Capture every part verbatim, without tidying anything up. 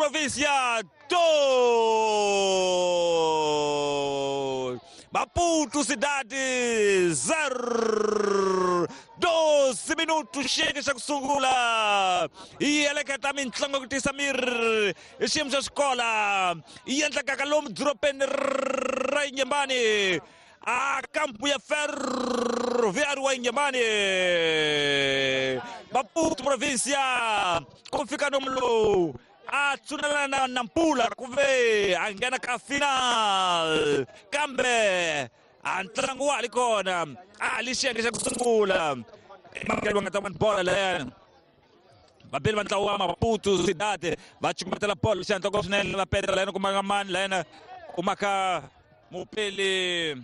Província dois. Maputo Cidade zero. doze minutos chega xa ku sungula. Yi eleketa mintlango ku tisa miri hi xiyimo xa xikola. Yi endlekaka lomu dorobeni ra Inhambane. A campo ya Ferroviário wa Inhambane. Maputo Província ku fika nomu lowu a tshunela na Nampula ku ve a nghena ka final kambe a ntlangu wa ha ri kona a li xiyenge xa ku sungula va nga ta vona bola layani vabeli va ntlawa wa Maputo Cidade va cukumetela bolo xihatla ko swinene va peta layani kumaka mani layani kumaka mupeli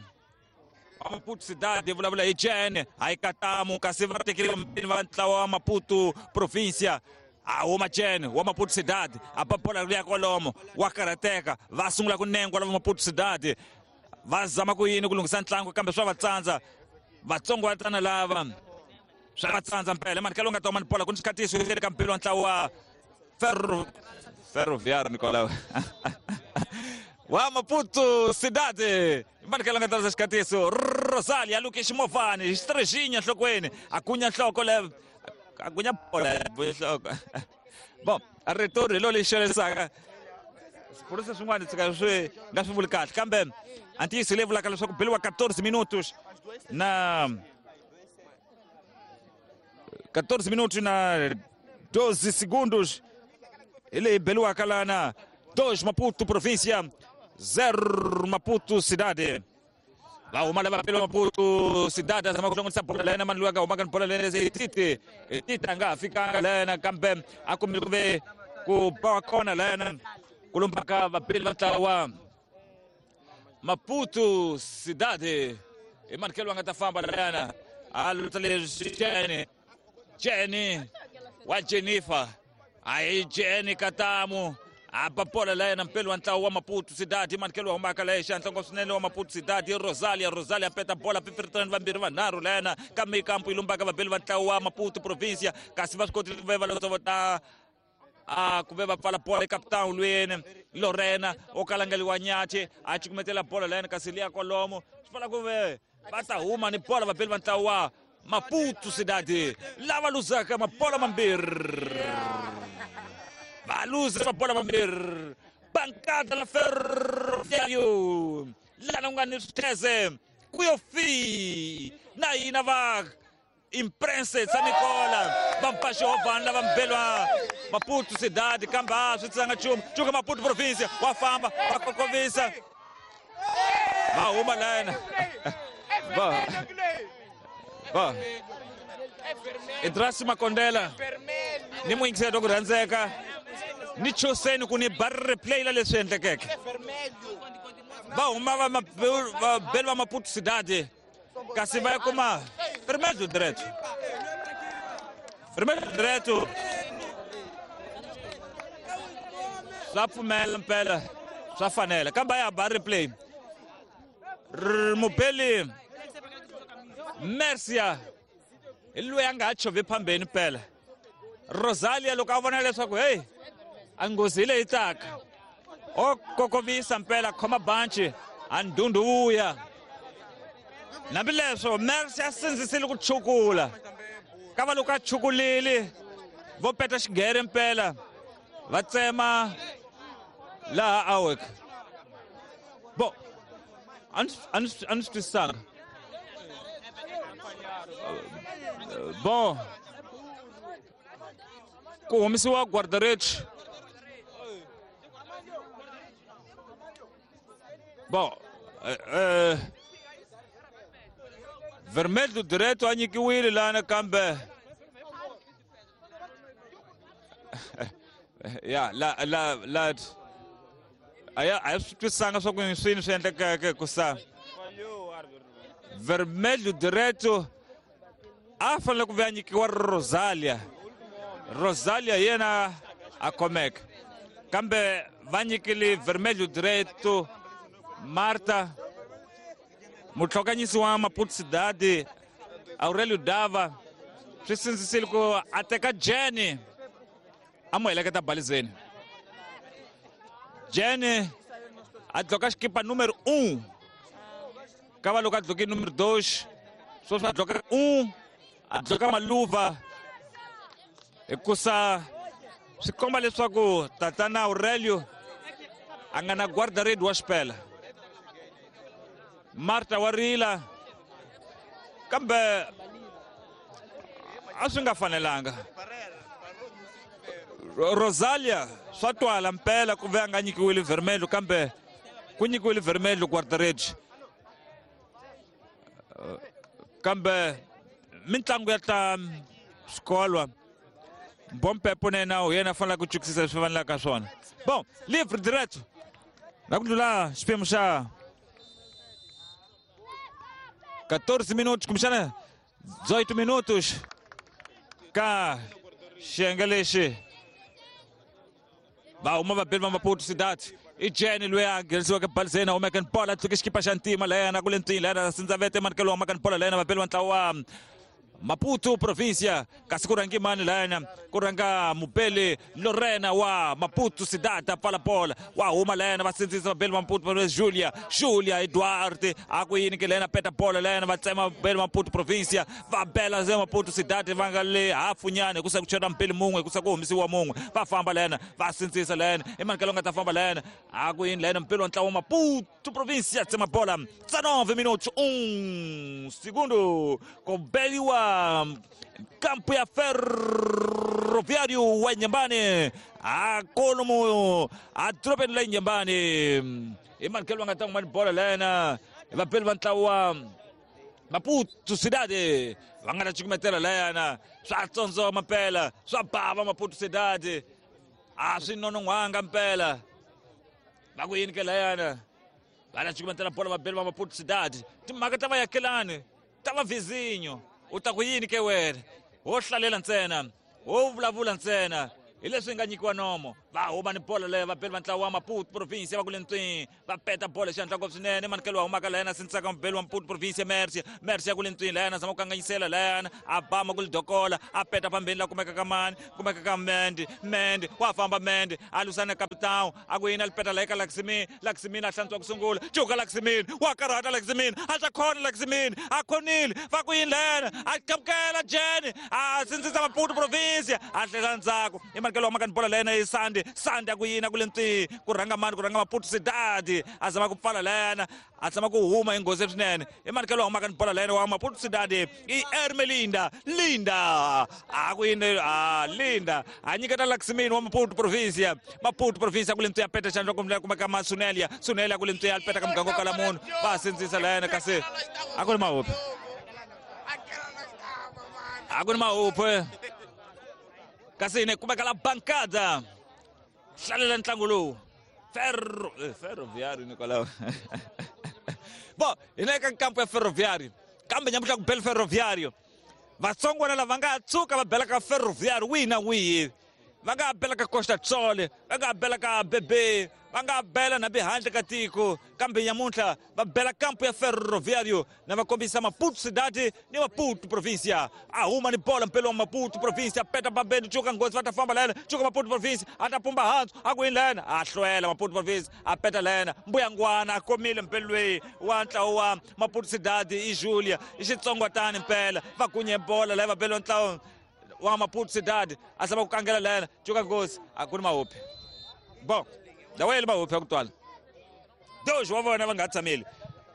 wa Maputo Cidade vulavula hi Jene a yi katamu kasi va tekile vambirhi va ntlawa wa Maputo Província a huma Jene wa Maputo Cidade a ba bola liya kwalomo wa karhateka va sungula ku nengwa lava Maputo Cidade va zama ku yini ku lunghisa ntlangu kambe swa va tsandza vatsongwatana lava swa va tsandza mpela mani ka nga ta mani bola ku ni xikatiso leri ka mpilo wa ntlawa wa Ferro Ferroviário Nicolau wa Maputo Cidade mani ka nga ta xikatiso Rosalia luke ximovhani xitrexinya nhlokweni a kunya nhloko le a kunya bola nhloko bon a rito hi lo lexi xelesaka swipurisa swin'wana tshika swi nga swi vuli kahle kambe a ntiyiso leyi vulaka leswaku beliwa quatorze minutos na quatorze minutos na doze segundos hi leyi beliwaka lana dois Maputo Província zero Maputo Cidade va huma lava pelo Maputo Cidade zama ku hlongorisa bola lena mani loyi a nga humaka ni bola lena se Titi Titi a nga ha fikanga lena kambe a kumile ku ve ku ba wa kona lena ku lumbaka vapeli va ntlawa Maputo Cidade i manikelo va nga ta famba lana a luta leswi Jene Jene wa Jennifer a hi Jene Katamu a ba bola layena mpeli wa ntlawa wa Maputo Cidade manikelo wa humaka laya xihatla ngopfu swinene wa Maputo Cidade Rosalia Rosalia peta bola pipiritrani vambirhi vanharhu layena kambe ikampu yi lumbaka vabeli va ntlawa wa Maputo Província kasi va swi kotile ku ve va lotsovota a ku ve va pfala bola ekapitan lweni Lorena o kalangeliwa nyathi a cukumetela bola layena kasi liya kwalomo swi fana ku ve va ta huma ni bola vabeli va ntlawa wa Maputo Cidade lava luzaka mabola mambirhi va luza mabola mambirhi bankada la Ferroviário lana ku nga ni switheze ku yo fi na hina va imprensa San Nicola va mpaxo lava mbelwa Maputo Cidade kambe a swi tsanga nchumu cuka Maputo Província wa famba va kokovisa va huma layena va va Idrasi Makondela ni muyingiseri ku rhandzeka ni choseni ku ni ba replay la leswi endlekeke va huma va vabeli va Maputo Cidade kasi va ya kuma vermelho direto vermelho direto swa pfumela mpela swa fanela kambe a ya ba replay mubeli Mercia hi loyi a nga ha chovhi phambeni mpela Rosalia loko a vona leswaku hey a nghozi hi leyi taka o kokovisa mpela khoma banci a ndhundhu vuya hambileswo Mercia a sindzisile ku chukula ka va loko a chukulile vo peta xigere mpela va tsema laha awek bo a ni a ni a ni swi twisisanga bon ku humesiwa guarda-redes bon eh, vermelho direto a nyikiwile lana kambe ya la la la a ya a swi twisisanga swa ku swini swi endlekeke ku sa vermelho direto a fanele ku ve a nyikiwa Rosalia Rosalia yena a khomeka kambe va nyikile vermelho direto Marta mutlhokanyisi wa Maputo Cidade Aurelio Dava swi sindzisile ku a teka Jene a mu heleketa balizeni Jenny a dloka xikipa número um. Kava loko a dloke número dois, sweswi a dloka um, a dloka maluva. Hikusa swi komba leswaku tatana Aurelio a nga na guarda-rede wa xipela. Marta wa rila kambe a swi nga fanelanga. Rosalia swa twala mpela ku ve a nga nyikiwile vermelho kambe ku nyikiwile vermelho guarda-rede. Kambe mitlangu ya ta swikolwa Bompepo na yena hi yena a faneleke ku chukisisa leswi fanelaka swona. Bom, livre direto na ku ndlula xiphemu xa quatorze minutos kumbexana dezoito minutos ka xiyenge lexi. Va huma vabeli va Maputo Cidade. I Jenny loyi a nghenisiweke balizeni a humeke ni bola a tluke xikipa xa ntima layena ku le ntini layena Sindzavete Manikelo humaka ni bola layena vabeli va ntlawa wa Maputo província. Kasi ku rhangi mani layena ku rhanga Mubeli Lorena wa Maputo Cidade a pfala bola wa huma layena va sindzisa vabeli va Maputo Julia Julia Eduardo a ku yini ke layena peta bola layena va tsema vabeli va Maputo província va bela ze Maputo Cidade va nga le hafunyana hikusa ku chela mpeli mun'we hikusa ku humesiwa mun'we va famba layena va sindzisa layena i Manikelo nga ta famba layena a ku yini layena mpeli wa ntlawa wa Maputo província tsema bola dezenove minutos um segundo ku beliwa kampu ya Ferroviário wa Inhambane a kolomo a dorobeni la Inhambane. I Manikelo nga ta huma ni bola layena vapeli va ntlawa wa Maputo Cidade va nga ta cukumetela layana swa tsondzoma mpela swa bava Maputo Cidade a swi nonon'hwanga mpela va ku yini ke layana va ta cukumetela bola vabeli va Maputo Cidade timhaka ta vayakelani ta va vizinho u ta ku yini ke wena wo hlalela ntsena wo vulavula ntsena hi leswi nga nyikiwa nomo va huma ni bola leyo vabeli va ntlawa wa Maputo província va ku le ntwini va peta bola xihatla ngopfu swinene Manikelo wa humaka layena sindzisaka mubeli wa Maputo província Mercia Mercia ku le ntwini layena zama ku kanganyisela layena a bama ku lidokola a peta phambeni la kumeka ka mani kumeka ka Mendi Mendi wa famba Mendi a lwisana na capitão a ku yini a li peta la eka Laximini Laximini a hlantswa ku sungula cuka Laximini wa karhata Laximini a ta khona Laximini a khonile va ku yini layena a qamukela Jenny a sindzisa Maputo província a hlela ndzhaku i Manikelo wa maka ni bola layena i Sandi Sandi a ku yini a ku le ntwini ku rhanga mani ku rhanga Maputo Cidade a zama ku pfala layena a zama ku huma hi nghozi swinene i Manikelo wa humaka ni bola layena wa Maputo Cidade i Ermelinda Linda a ku yini a Linda a nyiketa Laximini wa Maputo província Maputo província ku le ntwini ya peta xandla kumbe kumeka ma Sunelia Sunelia ku le ntwini ya peta ka muganga kala munhu va sindzisa layena kasi a ku ri mahupe a ku ri mahupe kasi ne kumeka la bancada hlalela ntlangu lowu Ferro eh, Ferroviário Nicolau. Bom, hi le ka kampu ya Ferroviário kambe nyamuhla ku bela Ferroviário vatsongwana lava nga tshuka va bela ka Ferroviário wihi na wihi va nga bela ka Costa Tsole va nga bela ka Bebe va nga bela na behandle ka tiko kambe nyamuntlha va bela kampu ya Ferroviário na va kombisa Maputo Cidade ni Maputo província a huma ni bola mpelo wa Maputo província peta bambeni cuka nghozi va ta famba layena cuka Maputo província a ta pumba hansi a ku yini layena a hlwela Maputo província a peta layena mbuyangwana a komile mpelo loyi wa ntlawa wa Maputo Cidade i Julia i xitsongwatani mpela va kunye bola laya va bela ntlawa wa Maputo Cidade a zama ku kangela layena cuka nghozi a ku ni mahupi bon dawele mahupi ya ku twala dois wa vona va nga tshameli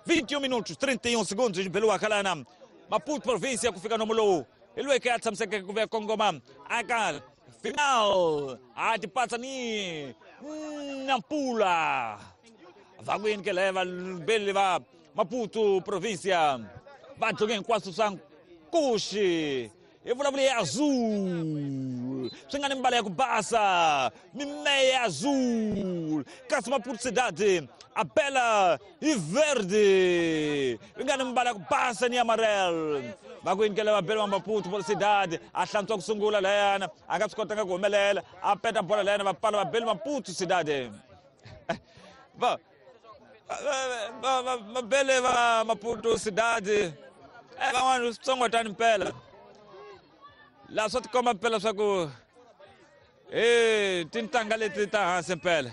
vinte e um minutos trinta e um segundos xibeliwaka lana Maputo província ku fika nomo lowu hi loyi ke a tshamisekeke ku ve kongoma aka final a tipatsa ni Nampula va ku yini ke laya vabeli va Maputo província va dloke hinkwaswo swa nkuxi hi vulavula ya azul swi nga ni mbala ya ku basa mimeya ya azul kasi Maputo Cidade a bela hi verde yi nga ni mbala ya ku basa ni amarelo va ku yinikela vabeli va Maputo Cidade a hlantswa ku sungula layana a nga swi kotanga ku humelela a peta bola layana va pfala vabeli Maputo Cidade va vabele va Maputo Cidade van'wana switsongotani mpela laha swa tikomba mpela swa ku e tintangha leti ta hansi mpela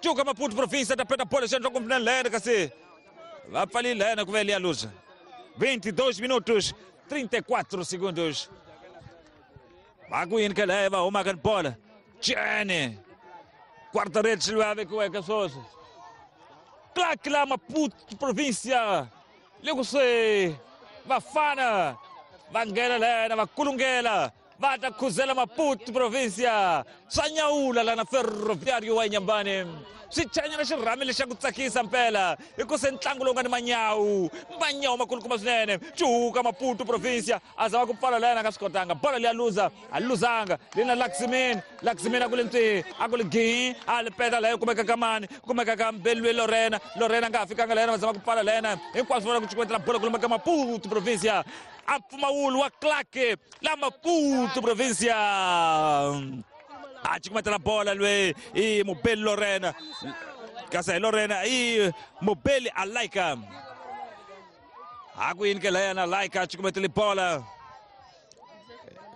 Cuka Maputo província ta peta bola xandla kumbe lena kasi va pfalile lena ku ve liya luza. vinte e dois minutos trinta e quatro segundos. Va ku yini ke leyo va humaka ni bola. Jene guarda-redes loyi a vekiweke sweswi. Clark la Maputo província loko se vafana va nghena lena va kulungela va ta khuzela Maputo província swa nyawula lana Ferroviário wa Inhambane. Swi chanyana xirhami lexa ku tsakisa mpela hikuse ntlangu lowu nga ni manyawu manyawu makulukumba swinene. Cuka Maputo província a zama ku pfala lena a nga swi kotanga. Bola leyi a luza a luzanga lina Laxmin Laxmin a ku le ntwihi a ku li gihi a li peta leyo kumeka ka mani kumeka ka Mbelwe Lorena Lorena a nga ha fikanga lena va zama ku pfala lena hinkwaswo vona ku cukumetela bola kulumba ka Maputo província. A mpfumawulo wa Clark la Maputo província a cukumetela bola loyi i Mubeli Lorena kasi hi Lorena i Mubeli Alaika a ku yini ke layana Alaika a cukumetele bola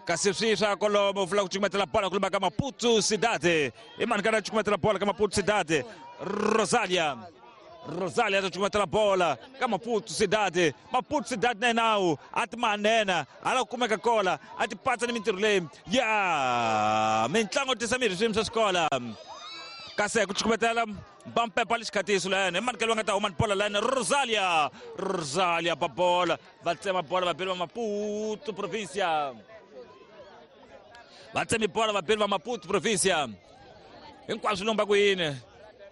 kasi swi swa kolomo vula ku cukumetela bola ku lumba ka Maputo Cidade i mani kana cukumetela bola ka Maputo Cidade. Rosalia Rosalia ta cukumetela bola ka Maputo Cidade. Maputo Cidade na nawu a ti manena a la ku kumeka kola a ti patsa ni mintirho leyi ya mintlango tisa mirhi swiyimo swa xikola kasi ku cukumetela Bampepa lexikatiso lena i manikelo va nga ta huma ni bola lena Rosalia Rosalia ba bola va tsema bola vabeli va Maputo província va tsemi bola vabeli va Maputo província hinkwaswo lomba ku yini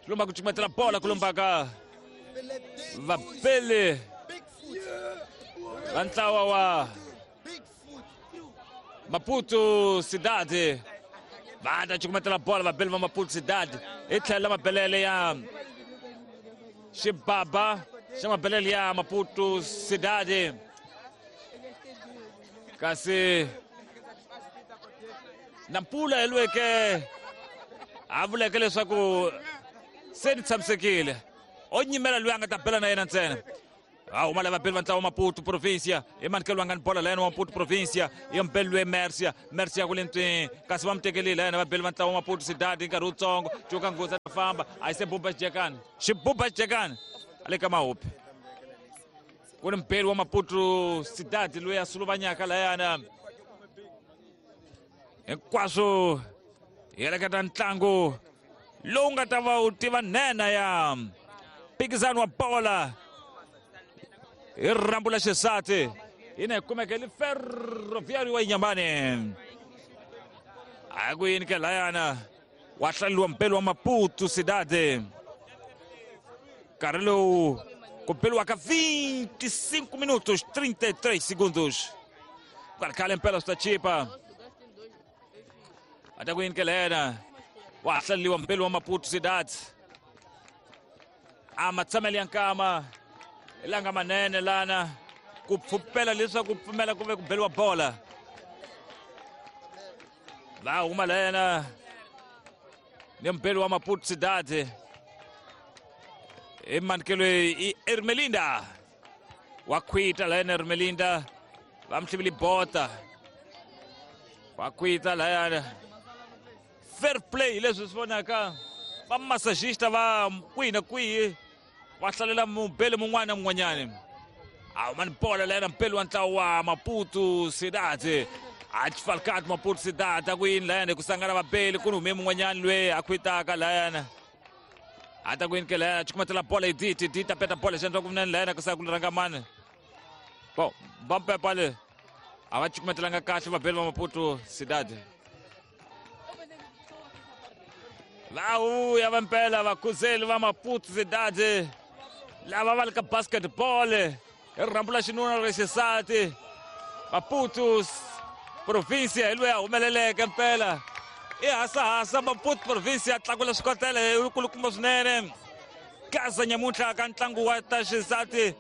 lomba ku cukumetela bola ku lomba ka vabeli va ntlawa wa Maputo Cidade va ta cukumetela bola vabeli va Maputo Cidade hi tlhelo la mabelele ya xibaba xa mabelele ya Maputo Cidade kasi Nampula hi lweke a vuleke leswaku se ni tshamisekile o nyimela loyi a nga ta bela na yena ntsena. A huma lava vabeli va ntlawa Maputo província i manikelo va nga ni bola lena wa Maputo província i mbeli loyi Mercia Mercia ku le ntwini kasi va mu tekelile yena vabeli va ntlawa Maputo Cidade hi nkarhi wutsongo. Cuka Nghozi a famba a yi se buba xijekani xibuba xijekani a le ka Mahupi ku ni mbeli wa Maputo Cidade loyi a suluvanyaka layana hinkwaswo hi heleketa ntlangu lowu nga ta va wu tiva nhenha ya mphikizano wa bola hi rhambu la xisati ina hi kumeke li Ferroviário wa Inhambane. A ku yini ke layana wa hlaleliwa mbeli wa Maputo Cidade nkarhi lowu ku beliwaka vinte e cinco minutos trinta e três segundos nkarhi khale mpela swi ta chipa a ta ku yini ke lena wa hlaleliwa mbeli wa Maputo Cidade a matshamelo ya nkama langa manene lana ku pfupela leswaku pfumela ku ve ku beliwa bola va huma lena ni mbeli wa Maputo Cidade i manikelo i Ermelinda wa khwita lena Ermelinda va mhlivile bota wa khwita layana fair play leswi swi vonaka va massagista va kwihi na kwihi va hlalela mubeli mun'wana na mun'wanyani. A huma ni bola lena mbeli wa ntlawa wa Maputo Cidade a xifalkati Maputo Cidade a ku yini layana ku sangana vabeli ku ni hume mun'wanyani loyi a khwitaka layana a ta ku yini ke layana cukumetela bola hi diti diti a peta bola xi endla ku vunene layana ku saka ku rhanga mani bo Bampepa le a va cukumetelanga kahle vabeli va Maputo Cidade. Va vuya va mpela vakhuzeli va Maputo Cidade lava va le ka basketball hi rhambu la xinuna ra xisati Maputo província hi loyi a humeleleke mpela i hasahasa Maputo província a tlakula swikotela hi kulukumba swinene gaza nyamuntlha ka ntlangu wa ta xisati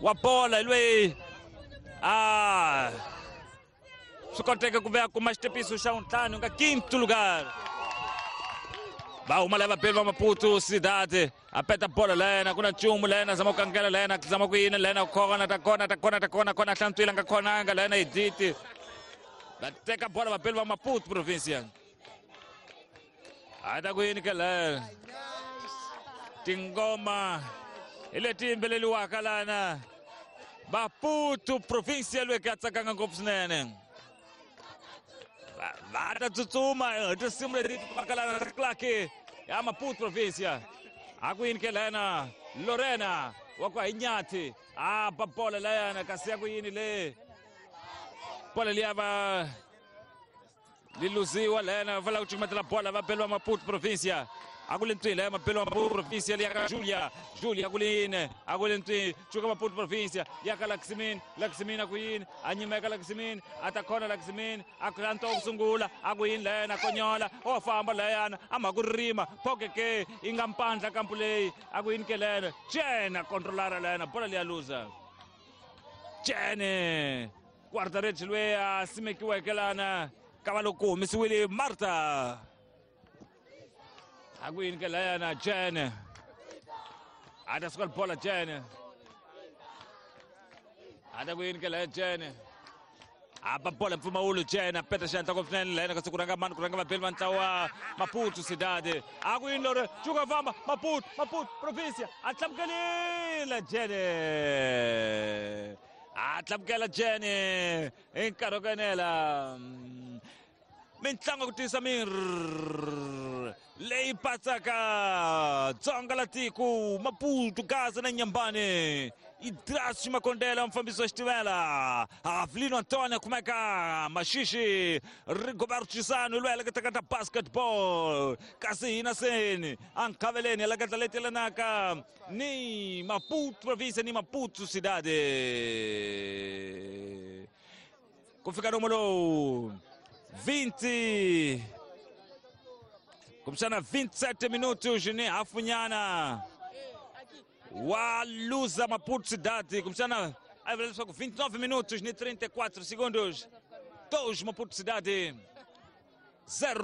wa bola hi loyi a swi koteke ku ve a kuma xitepiso xa vuntlhanu nga quinto lugar. Va huma lava vabeli va Maputo Cidade a peta bola lena ku na nchumu lena zama ku kangela lena zama ku yini lena khona ta kona ta kona ta kona kona hlantswile nga khonanga lena hi diti va teka bola vabeli va Maputo província a ta ku yini ke lena Tingoma hi leti yimbeleriwaka lana Maputo província loyi ka tsakanga ngopfu swinene va ta tsutsuma hi tinsimu leti vaka lana ta Clark ya Maputo província a ku yini ke lena Lorena wa ku hi nyathi a ba bola layana kasi ya ku yini le bola liya va li luziwa lena va lava ku cukumetela bola va beliwa Maputo província a ku le ntwini la mabelo Maputo província liya ka Julia Julia ku le yini a ku le ntwini cuka Maputo província ya ka Laxmin Laxmin a ku yini a nyimeka Laxmin a ta khona Laxmin a ku anto ku sungula a ku yini lena konyola o famba layana a mha ku rima phoke ke yi nga mpandla kampu leyi a ku yini ke lena Jene controlara lena bola liya luza Jene guarda-redes loyi a simekiweke lana ka va loko ku humesiwile Marta a ku yini ke layana Jene a ta suka bola Jene a ta ku yini ke laya Jene a ba bola mpfumawulo Jene a peta xandla ngopfu swinene layana kasi ku rhanga mani ku rhanga vabeli va ntlawa Maputo Cidade a ku yini lori cuka famba Maputo Maputo província a tlamukelile Jene a tlamukela Jene hi nkarhi wo enela mintlangu ku tiyisa miri leyi patsaka dzonga la tiko Maputo Gaza na Nyambane Idras Makondela mufambisi wa xitimela Avelino Antonio kumeka Maxixi Rigoberto Chisano loyi a leketaka ta basketball kasi hina seni a nkhaveleni leketla leti yelanaka ni Maputo província ni Maputo Cidade ku fika nomo lowu vinte kumbexana vinte e sete minutos ni hafunyana wa luza Maputo Cidade kumbexana a vula leswaku vinte e nove minutos ni trinta e quatro segundos dois Maputo Cidade zero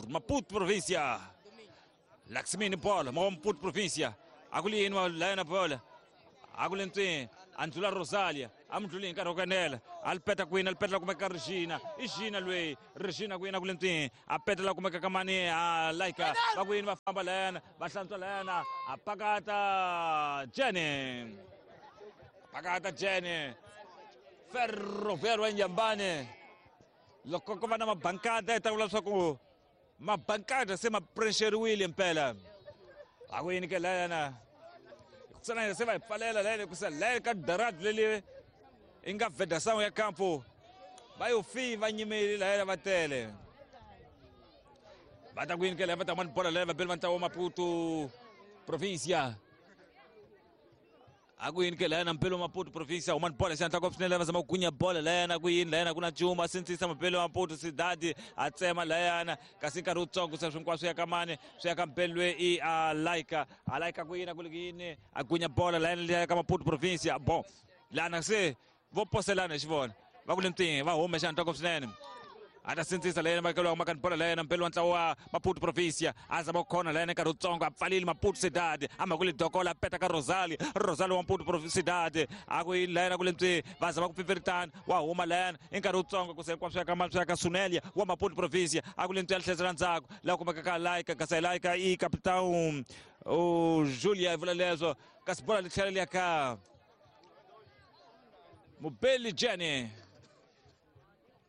Maputo província Laxmini bola Maputo província a ku li yini layana bola a ku le ntwini a ndlula Rosalia a mi ndluli hi nkarhi wo kanela a li peta kwini a li petela kumeka Regina i Gina loyi Regina kwini a ku le ntwini a petela kumeka ka mani a Laika va ku yini va famba layana va hlantswa layana a pakata Jene pakata Jene Ferroviário wa Nyambane loko ko va na mabankada hi ta vula leswaku mabankada se ma prexeriwile mpela a ku yini ke layana tsana se va hi pfalela layana ku sa laya ka daradi leli yi nga vedação ya campo va yo fi va nyimeli layana va tele va ta ku yini ke laya va ta mani bola laya va beli va ntlawa Maputo província a ku yini ke layana mpelo Maputo província humani bola xandla ngopfu swinene va zama ku gunya bola layana ku yini layana ku na cuma sindzisa mapelo Maputo Cidade a tsema layana kasi nkarhi wutsongo se swinkwaswo ya ka mani swi ya ka mpelo loyi i a Laika a Laika ku yini a ku li yini a gunya bola layana liya ka Maputo província bon lana se vo poselana hi xivona va ku le ntwini va hume xandla ngopfu swinene a ta sindzisa layena makelo makani bola layena mpelo wa ntlawa wa Maputo província a zama ku khona layena nkarhi wutsongo a pfalile Maputo Cidade a mhaka le dokola a peta ka Rosalia Rosalia wa Maputo Cidade a ku yini layena ku le ntwini va zama ku pfipfiritana wa huma layena i nkarhi wutsongo ku se hinkwaswo ya ka mani swi ya ka Sunelia wa Maputo província a ku le ntwini a tlhesela ndzhaku laha kumeka ka Laika kasi Laika i capitão o Julia vula leswo kasi bola li tlhela liya ka Mubeli Jene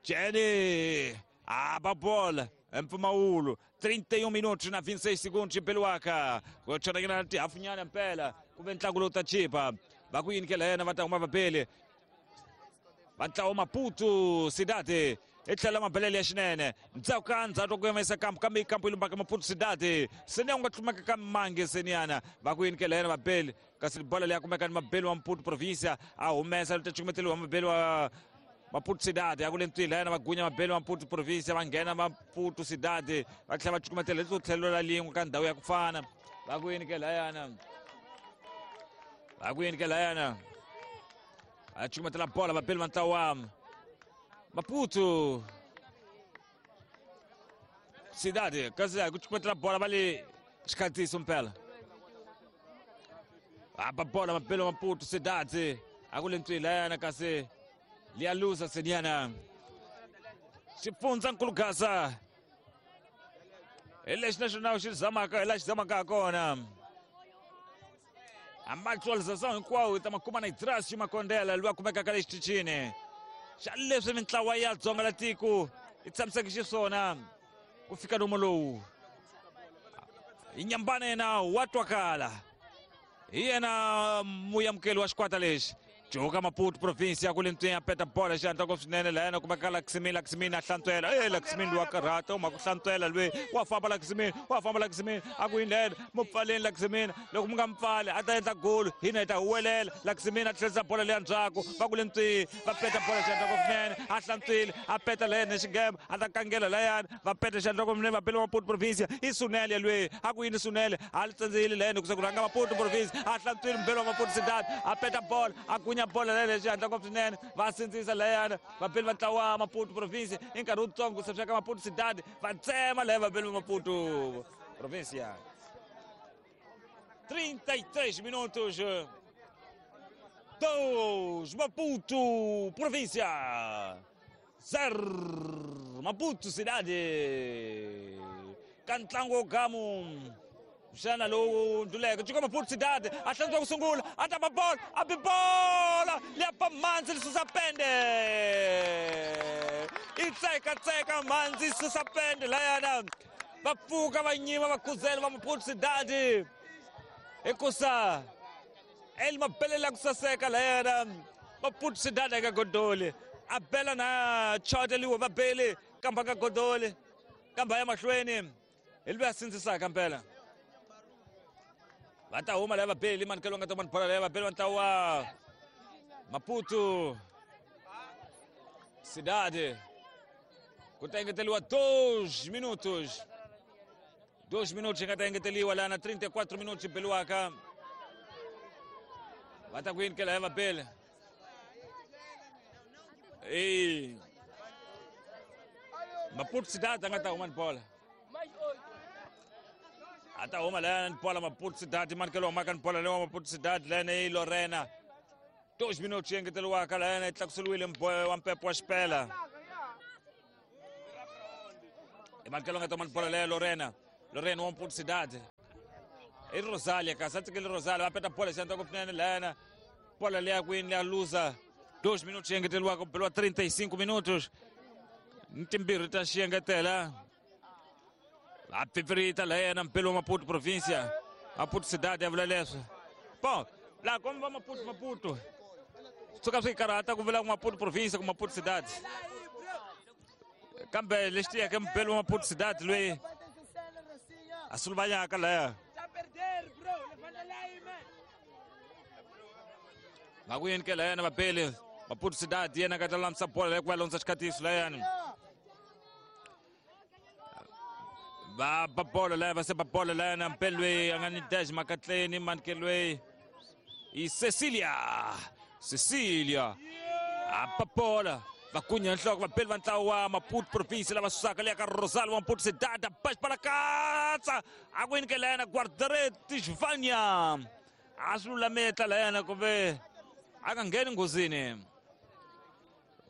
Jenny, a bola, mpfumawulo trinta e um minutos na vinte e seis segundos mpeliwaka ku chonakela tihafunyana mpela ku ve ntlangu lowu ta chipa va ku yini ke layena va ta huma vabeli va ntlawa Maputo Cidade i tlhela mabelele ya xinene ndzhaku ka ndzhaku ku yimisa kampu kambe kampu yi lumbaka Maputo Cidade seni ya ku nga tlumeka ka mangi seniyana va ku yini ke layena vabeli kasi bola leyi ya kumeka ni mabeli wa Maputo província a humesa lu ta cukumeteliwa mabeli wa Maputo Cidade a ku le ntwini layena va gunya mabeli wa Maputo província va nghena Maputo Cidade va tlhela va cukumetela leswo tlhelo la lin'we ka ndhawu ya ku fana va ku yini ke layana va ku yini ke layana a cukumetela bola vabeli va ntlawa Maputo Cidade kasi ku cukumetela bola va le xikhatiso mpela a ba bola mabeli wa Maputo Cidade a ku le ntwini layana kasi liyaluza seniana xipfundza nkulu Gaza hi lexi naxona xi zamaka hi laha xi zamaka ha kona A atualização hinkwawo hi ta ma kuma na Idrasio Makondela loyi a kumekaka le xitichini xa leswi mintlawa ya Dzonga la tiko yi tshamiseke xiswona ku fika nomo lowu. Hi nyambana yena wa twakala, hi yena muyamukeli wa xikwata lexi. Joka Maputo province ya kule ntwini ya peta bola xihatla ngopfu swinene laha yena kumeka Laxmin. Laxmin a hlantswela, e Laxmin loyi wa karhata u mhaka ku hlantswela loyi wa famba. Laxmin wa famba, Laxmin a ku yini lena mu pfaleni Laxmin, loko mu nga mu pfali a ta endla golo, hina hi ta huwelela. Laxmin a tlherisa bola leya ndzhaku, va kule ntwini va peta bola xihatla ngopfu swinene, a hlantswile a peta layena xingema a ta kangela layani, va peta xihatla ngopfu swinene va bele Maputo province. I Sunele loyi a ku yini Sunele a li tsandzeyile layena ku se ku rhanga Maputo province, a hlantswile mbelo wa Maputo Cidade a peta bola a kunya bola leyo xihatla ngopfu swinene, va sindzisa layana vabeli va ntlawa Maputo province i nkarhi wutsongo ku se ka Maputo Cidade va tsema laya vabeli va Maputo province. trinta e três minutos, dois Maputo província, zero Maputo Cidade. Ka ntlangu wo gamu xana lowu ndluleke Jika Maputo Cidade a hlantswa ku sungula a ta ba bola a bi bola liya ba mhandzi li susa pende, i tsekatseka mhandzi yi susa pende layana, va pfuka va nyima va khuzela va Maputo Cidade hikusa el mabelela ku saseka layana. Maputo Cidade eka godoli a bela na choteliwe va beli kamba ka godoli kamba ya mahlweni hi loyi a sindzisaka mpela. Va ta huma laya vabeli manikelo nga ta mani bola laya vabeli va ntlawa Maputo Cidade ku ta engeteliwa dois minutos, dois minutos yi nga ta engeteliwa laha na trinta e quatro minutos yi beliwaka. Va ta ku yini ke laya vabeli e Maputo Cidade a nga ta huma ni bola, a ta huma layana ni bola Maputo Cidade manikelo humaka ni bola leyi wa Maputo Cidade layana yi Lorena. Dois minutos yi engeteriwaka layana yi tlakuseriwile mboyo wa mpepo wa xipela. I manikelo nga ta huma ni bola leya Lorena, Lorena wa Maputo Cidade i Rosalia kasi a tsikele Rosalia va peta bola xihatla ngopfu swinene layana bola leya kwini leya luza. Dois minutos yi engeteriwaka ku beliwa trinta e cinco minutos ni timbirhi ta xiengetela. A pfipfirita layena mpelo wa Maputo província, Maputo Cidade ya vula leswi. Bom, laha komba Maputo Maputo suka swi karhata ku vula ku Maputo província ku Maputo Cidade, kambe lexi tiyeke mpelo wa Maputo Cidade loyi a suluvanyaka laya va ku yini ke layana vabeli Maputo Cidade yena ka ta lulamisa bola leyi ku va londza xikhatiso layani va ba bola laya va se ba bola layana mpelo loyi a nga ni dash makatleni manike loyi i Cecilia, Cecilia a ba bola va kunya nhloko vabeli va ntlawa wa Maputo province lava susaka leya ka Rosario wa Maputo Cidade ba xipalakatsa a ku yini ke layana guardareti Vanya a swi lulametla layana kumbe a nga ngheni nghozini.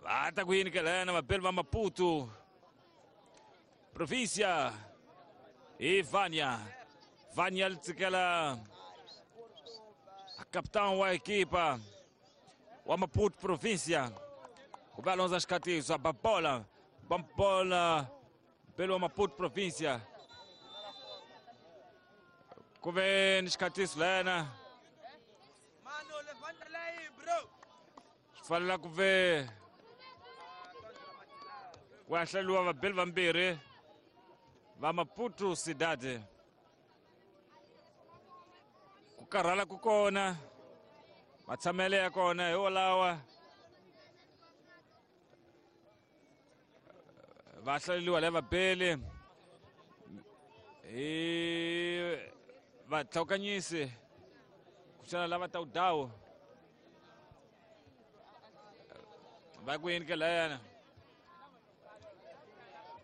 Va ta ku yini ke layana vabeli va Maputo província i Vanya, Vanya li tsikela a capitão wa equipa wa Maputo província ku va londza xikhatiso a ba bola ba bola mpelo wa Maputo província ku ve ni xikhatiso layana swi fanela ku ve ku ya hlaleriwa vabeli vambirhi va Maputo Cidade. Ku karhala ku kona matshamele ya kona hi wolawa va hlaleriwa laya vabeli hi vatlhawukanyisi ku xana lava tawudawu va ku yini ke layana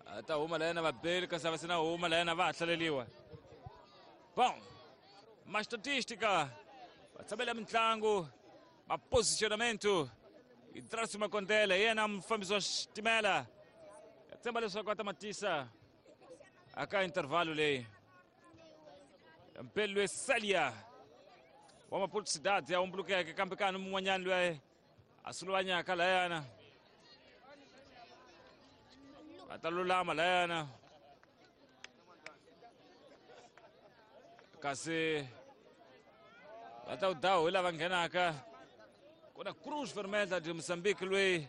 a ta huma layana vabeli kasi a va se na huma layana va ha hlaleriwa. Bom, ma estatística va tshamela mitlangu ma posicionamento Idrasio Makondela yena mufambisi wa xitimela ya tshemba leswaku a ta matisa aka intervalo leyi. Mpelo loyi Celia Wa Maputo Cidade ya humbulukeke kambe kani mun'wanyani loyi a suluvanyaka layana va ta lulama layana kasi va ta wu dawu hi lava nghenaka ku na Cruz Vermelha de Moçambique loyi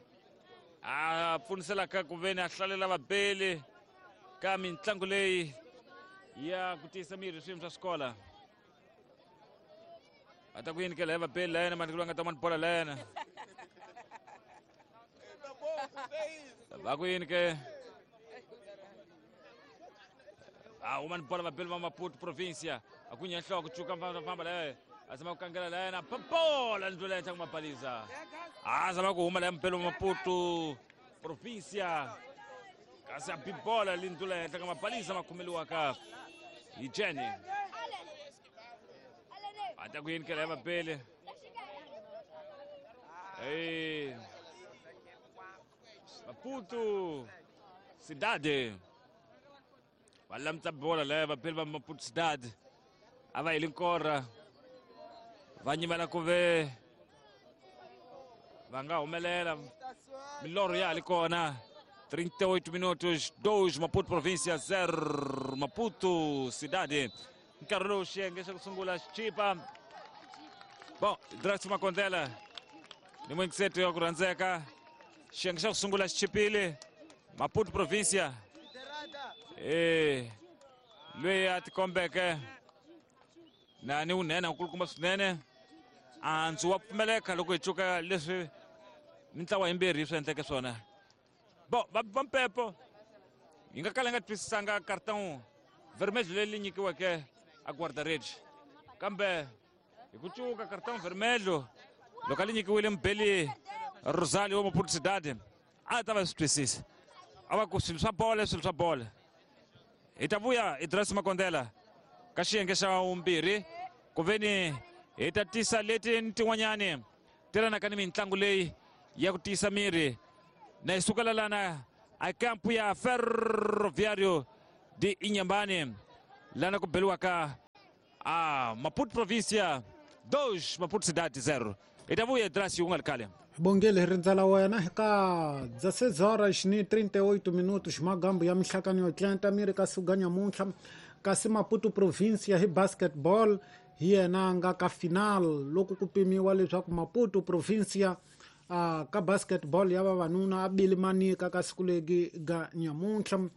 a pfuniselaka ku veni a hlalela vabeli ka mitlangu leyi ya ku tiyisa miri swiyimo swa swikola va ta ku yini ke laya vabeli layena mandlelo nga ta mani bola layena va ku yini ke a huma ni bola vabeli va Maputo provincia a ku nya nhloko cuka famba laya a zama ku kangela layena bola ndlela henhla ku mabaliza a zama ku huma laya mubeli wa Maputo provincia kasi a bi bola lindlula henhla ka mabaliza ma khomeliwaka hi Jenny va ta ku yini ke laya vabeli Ei Maputo Cidade va lamutsa bola laya vabeli va Maputo Cidade a va heli nkora va nyimela ku ve va nga humelela milorho ya ha li kona trinta e oito minutos dois Maputo província zero Maputo Cidade nkarhi lowu xiyenge xa ku sungula xichipa bon Drax Makondela ni muingiseti wa ku rhandzeka xiyenge xa ku sungula xichipile Maputo província e loyi a tikombeke na ni wunene nkulukumba swinene andzu wa pfumeleka loko hi cuka leswi mintlawa yimbirhi swi endleke swona bon va va mpepo hi nga kala hi nga twisisanga cartão vermelho leri nyikiweke a guarda-redes kambe hi ku cuka cartão vermelho loko a li nyikiwile mubeli Rosario wa Maputo Cidade a ta va swi twisisa a va ku swilo swa bola swilo swa bola hi ta vuya hi Drax Makondela ka xiyenge xa vumbirhi ku veni hi ta tisa leti ni tin'wanyani ti lanaka ni mitlangu leyi ya ku tiyisa miri na hi sukela lana a kampu ya Ferroviário de Inhambane lana ku beliwaka a Maputo província dois Maputo Cidade zero hi ta vuya Drax wu nga ri khale Bongele hi rindzela wena eka dezesseis horas ni trinta e oito minutos magambu ya mihlakano yo tlenta miri ka suga nyamuntlha kasi Maputo província hi basketball hi yena nga ka final loko ku pimiwa leswaku Maputo província uh, ka basketball ya vavanuna a bili manika ka siku legi ga nyamuntlha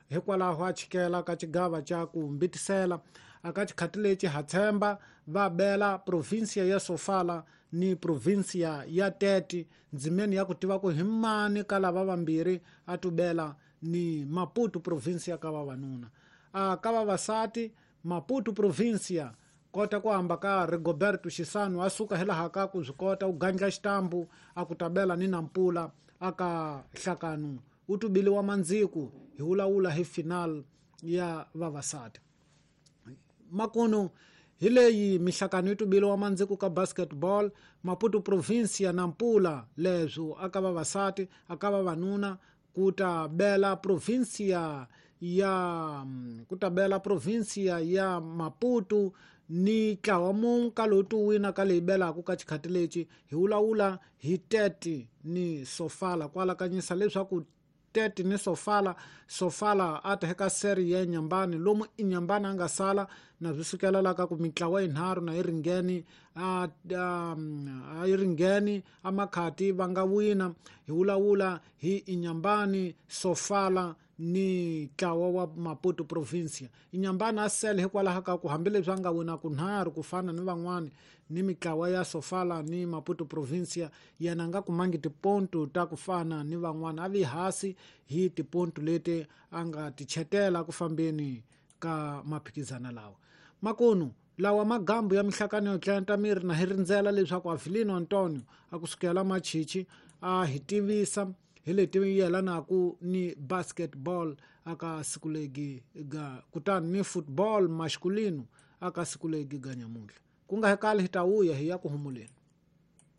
hikwalaho a chikela ka xigava xa ku mbitisela aka xikhati lexi ha tshemba va bela província ya Sofala ni província ya Tete ndzimeni ya ku tiva ku hi mani ka lava vambirhi a tubela ni Maputo província ka vavanuna a ka vavasati Maputo província kota ku hamba ka Rigoberto Xisano a suka hilaha ka ku swi kota u gandla xitambu a ku tabela ni Nampula aka hlakanu u tubiliwa mandziku hi wulawula hi final ya vavasati makuno hi leyi mihlakano yi tubiliwa mandziku ka basketball Maputo província Nampula leswo aka vavasati aka vavanuna ku ta bela província ya ku ta bela província ya Maputo ni ntlawa mune ka lowu tu wina ka leyi belaka ka xikhati lexi hi wulawula hi Tete ni Sofala kwalakanyisa leswaku Tete ni Sofala Sofala a ta eka seri ya Inhambane lomu Inhambane a nga sala na swi sukela la ka ku mitlawa yinharhu na yi ringeni a a yi ringeni a makhati va nga wina hi wulawula hi Inhambane Sofala ni ntlawa wa Maputo província Inhambane a sele hikwalaho ka ku hambileswi a nga wina kunharhu ku fana ni van'wani ni mitlawa ya Sofala ni Maputo província yena a nga kumangi tiponto ta ku fana ni van'wana a vi hasi hi tiponto leti a nga ti chetela ku fambeni ka maphikizana lawa makunu lawa magambu ya mihlakano yo tlenta miri na hi rindzela leswaku Avelino Antonio a ku sukela machichi a hi tivisa hi leti yelanaku ni basketball aka siku legi ga kutani ni football masculino aka siku legi ga nyamuntlha ku nga hekali hi ta vuya hi ya ku humuleni.